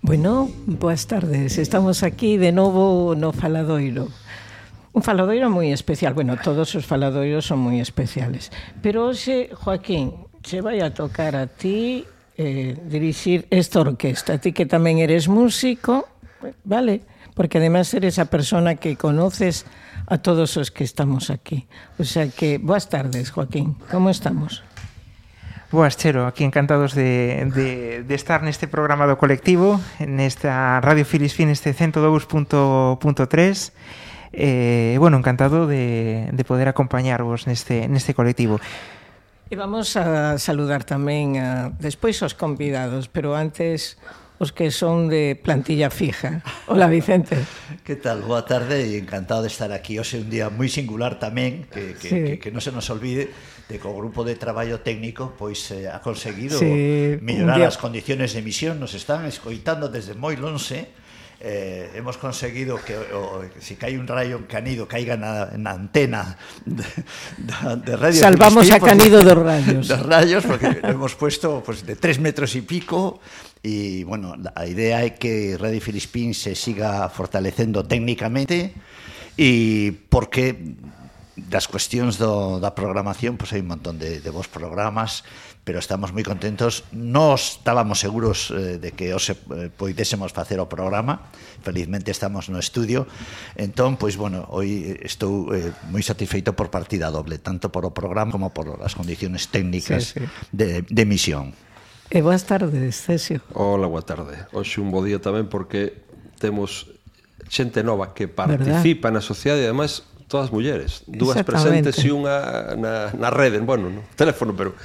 Bueno, boas tardes. Estamos aquí de novo no Faladoiro. Un faladoiro moi especial. Bueno, todos os faladoiros son moi especiales. Pero hoxe, Joaquín, che vai a tocar a ti dirixir esta orquesta. A ti que tamén eres músico, vale? Porque además eres a persona que conoces a todos os que estamos aquí. O sea que, boas tardes, Joaquín. Como estamos? Boas, Chero, aquí encantados de estar neste programa do colectivo, nesta Radio Filispín, este 102.3. Bueno, encantado de poder acompañarvos neste colectivo. E vamos a saludar tamén despois os convidados, pero antes os que son de plantilla fija. Hola, Vicente. Que tal? Boa tarde e encantado de estar aquí. Hoxe un día moi singular tamén, que non se nos olvide de que o grupo de traballo técnico pois ha conseguido mellorar as condiciones de emisión. Nos están escoitando desde moi lonxe. Hemos conseguido que se cae un rayo Canido caiga na antena de Radio Salvamos Filispín, a Canido dos rayos. Dos rayos, porque lo hemos puesto pues, de 3 metros y pico. Y bueno, la idea é que Radio Filispín se siga fortalecendo técnicamente e porque das cuestións da programación, pois hai un montón de vos programas, pero estamos moi contentos. Nós estábamos seguros de que hoxe poidésemos facer o programa. Felizmente estamos no estudio. Entón, pois, bueno, hoy estou moi satisfeito por partida doble, tanto por o programa como por as condiciones técnicas de emisión. E boas tardes, Cesio. Hola, boa tarde. Hoxe un bo día tamén porque temos xente nova que participa na sociedade e ademais todas mulleres, dúas presentes e unha na rede, bueno, no teléfono, pero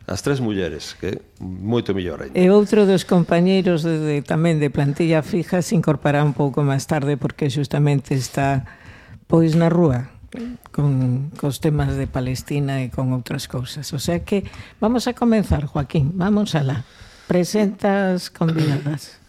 as 3 mulleres, que moito mellor ainda. E outro dos compañeiros tamén de plantilla fija se incorporará un pouco máis tarde porque justamente está pois na rúa con os temas de Palestina e con outras cousas. O sea que vamos a comenzar, Joaquín, vamos alá. Presentas convidadas.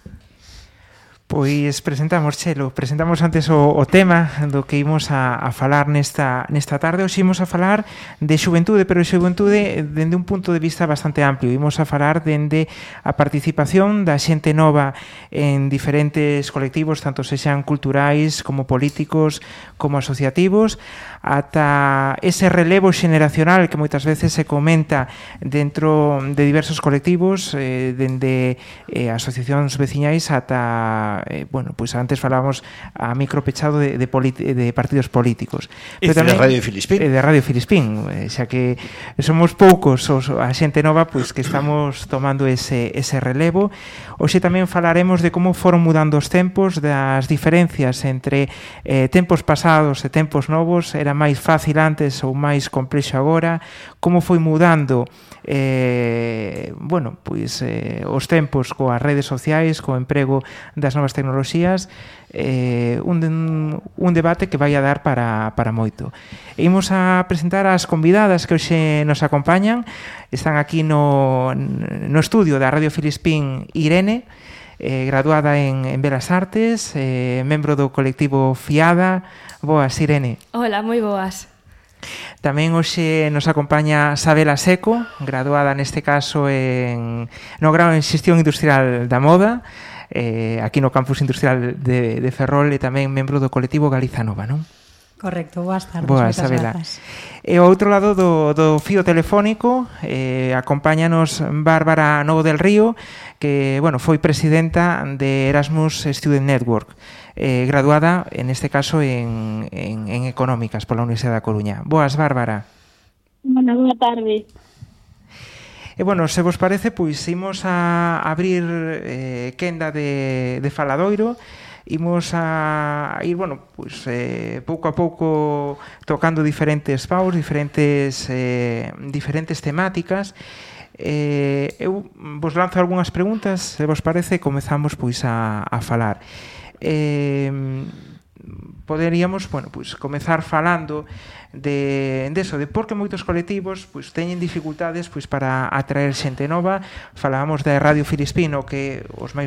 Pois presentamos, Chelo, presentamos antes o tema do que imos a falar nesta tarde. Hoxe imos a falar de xuventude, pero de xuventude dende un punto de vista bastante amplio. Imos a falar dende a participación da xente nova en diferentes colectivos, tanto sexan culturais como políticos, como asociativos, ata ese relevo xeneracional que moitas veces se comenta dentro de diversos colectivos, dende asociacións veciñais ata bueno, pues antes falábamos a micro pechado de partidos políticos. E de Radio Filispín. De Radio Filispín, xa que somos poucos a xente nova pois que estamos tomando ese relevo. Hoxe tamén falaremos de como foron mudando os tempos, das diferencias entre tempos pasados e tempos novos, era máis fácil antes ou máis complexo agora, como foi mudando bueno, pois os tempos coas redes sociais, co emprego das novas tecnoloxías, un debate que vai a dar para moito. Imos a presentar as convidadas que hoxe nos acompañan. Están aquí no estudio da Radio Filispín Irene, graduada en Belas Artes, membro do colectivo Fiada. Boas, Irene. Hola, moi boas. Tamén hoxe nos acompaña Sabela Seco, graduada neste caso no grao en Xestión Industrial da Moda, aquí no campus industrial de Ferrol, e tamén membro do colectivo Galiza Nova, non? Correcto, boas tardes, boas, moitas Sabela. grazas. E ao outro lado do fío telefónico acompáñanos Bárbara Novo del Río, que, bueno, foi presidenta de Erasmus Student Network, graduada, en este caso, en Económicas pola Universidade da Coruña. Boas, Bárbara. Bueno, boa tarde. E, bueno, se vos parece, pois imos a abrir quenda de faladoiro. Imos a ir, bueno, pois pouco a pouco tocando diferentes paus, diferentes temáticas. Eu vos lanzo algunhas preguntas, se vos parece, comezamos pois a falar. Poderíamos, bueno, pois comezar falando de por que moitos colectivos pois teñen dificultades pois para atraer xente nova. Falábamos da Radio Filispín, o que os máis